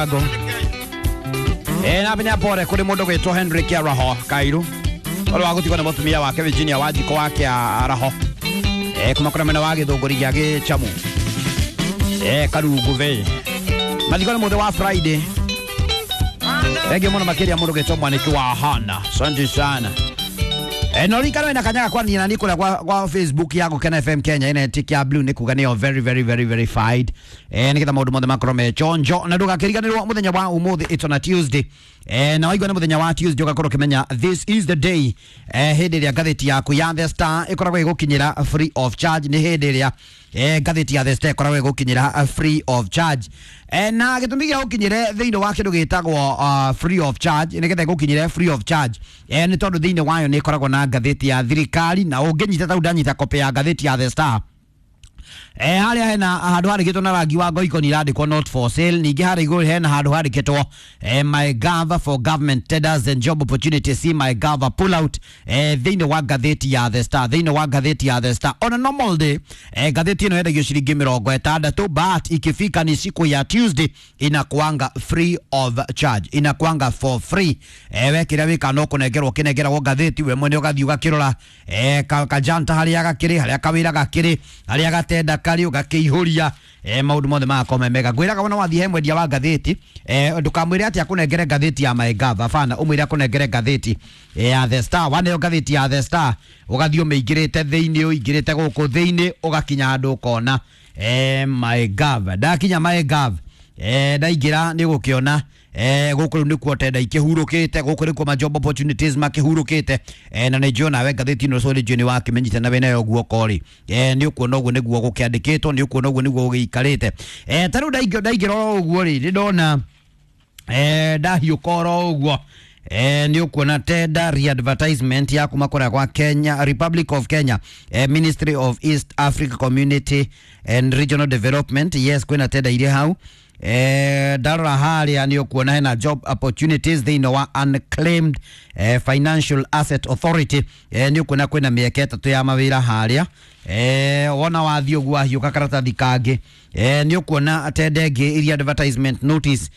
Ngo na menya pore kuri mundu gwitwo Henry Kiaraho Kairu ũrĩa wa gũtigwo nĩ mũtumia wake Virginia Wanjikũ wa Kĩaraho kuma kũrĩa mwena wa Gĩthũngũri gĩa Gĩchamu Karungu Bay. Mathiko nĩ mũthĩ wa Friday. Thengiũ mũno makĩria mũndũ gwĩtwo Mwaniki wa Hana, asante sana. No rikano ina kanyaga kwa nina niko kwa Facebook ya Gukena FM Kenya ina tick ya blue ni kuga niyo very very very verified. Nigetha maundu mothe makorwo me chonjo na ndugakiriganirwo muthenya wa umuthi, it's on a Tuesday. Na waigua nĩ muthenya wa Tuesday ugakorwo ukimenya this is the day hindi ĩrĩa ngathĩti yaku ya The Star ĩkoragwo ĩgũkinyĩra free of charge. Nĩ hĩndĩ ĩrĩa ngathĩti ya The Star ĩkoragwo ĩgũkinyĩra free of charge. Na gĩtũmi gĩa gũkinyĩre thĩinĩ wa kĩndũ gĩtagwo free of charge, nĩgetha ĩgũkinyĩre free of charge, nĩ tondũ thĩinĩ wayo nĩ ĩkoragwo na ngathĩti ya thirikari, na ũngĩnyita tau ndanyita copy ya ngathĩti ya The Star, harĩa hena handũ handĩkĩtwo na rangi wa ngoikoni irandĩkwo "not for sale". Ningĩ harĩa igũrũ hena handũ handĩkĩtwo "MyGov for government tenders and job opportunities, see MyGov pull out". Thĩinĩ wa ngathĩti ya The Star, thĩinĩ wa ngathĩti ya The Star, on a normal day ngathĩti ĩno yendagio ciringi 60, but ikifika ni siku ya Tuesday inakuanga free of charge, inakuanga for free. We kĩrĩa wĩka no kũnengerwo kĩnengeragwo ngathĩti, we mwene ũgathiĩ ũgakĩrora kajanta harĩa gakĩrĩ, harĩa kawĩra gakĩrĩ, harĩa gatenda karĩ, ũgakĩihũria, maũndũ mothe magakorwo me mega. Ngwĩraga wona wathiĩ he mwendia wa ngathĩti, ndũkamwĩre atĩ akũnengere ngathĩti ya MyGov, hapana, ũmwĩre akũnengere ngathĩti ya The Star. Waneo ngathĩti ya The Star, ũgathiĩ ũmĩingĩrĩte thĩinĩ, ũingĩrĩte gũkũ thĩinĩ, ũgakinya handũ ũkona MyGov. Ndakinya MyGov, ndaingĩra nĩ gũkĩona gũkũ rĩu nĩkuo tenda ikĩhurũkĩte, gũkũ nĩkuo ma job opportunities makĩhurũkĩte. Na nĩ njũĩ nawe ngathĩti ĩno so nĩ njũĩ nĩ wakĩmenyite na wĩnayo guoko rĩ, nĩ ũkuona ũguo nĩguo gũkĩandĩkĩtwo, nĩ ũkuona ũguo nĩguo gũgĩikarĩte. Ta rĩu ndaingĩra oro ũguo rĩ, nĩ ndona ndahiũka oro ũguo, nĩ ũkuona tender re-advertisement ya kuma kũrĩa kwa Kenya, Republic of Kenya, Ministry of East Africa Community and Regional Development. Yes, kwĩna tender iria hau. Ndarora harĩa nĩ ũkuona hena job opportunities thĩinĩ wa Unclaimed Financial Asset Authority. Nĩ ũkuona kwĩna mĩeke 3 ya mawĩra harĩa. Wona wathiĩ ũguo wahiũka karatathi kangĩ, nĩ ũkuona tender ĩngĩ iria advertisement notice.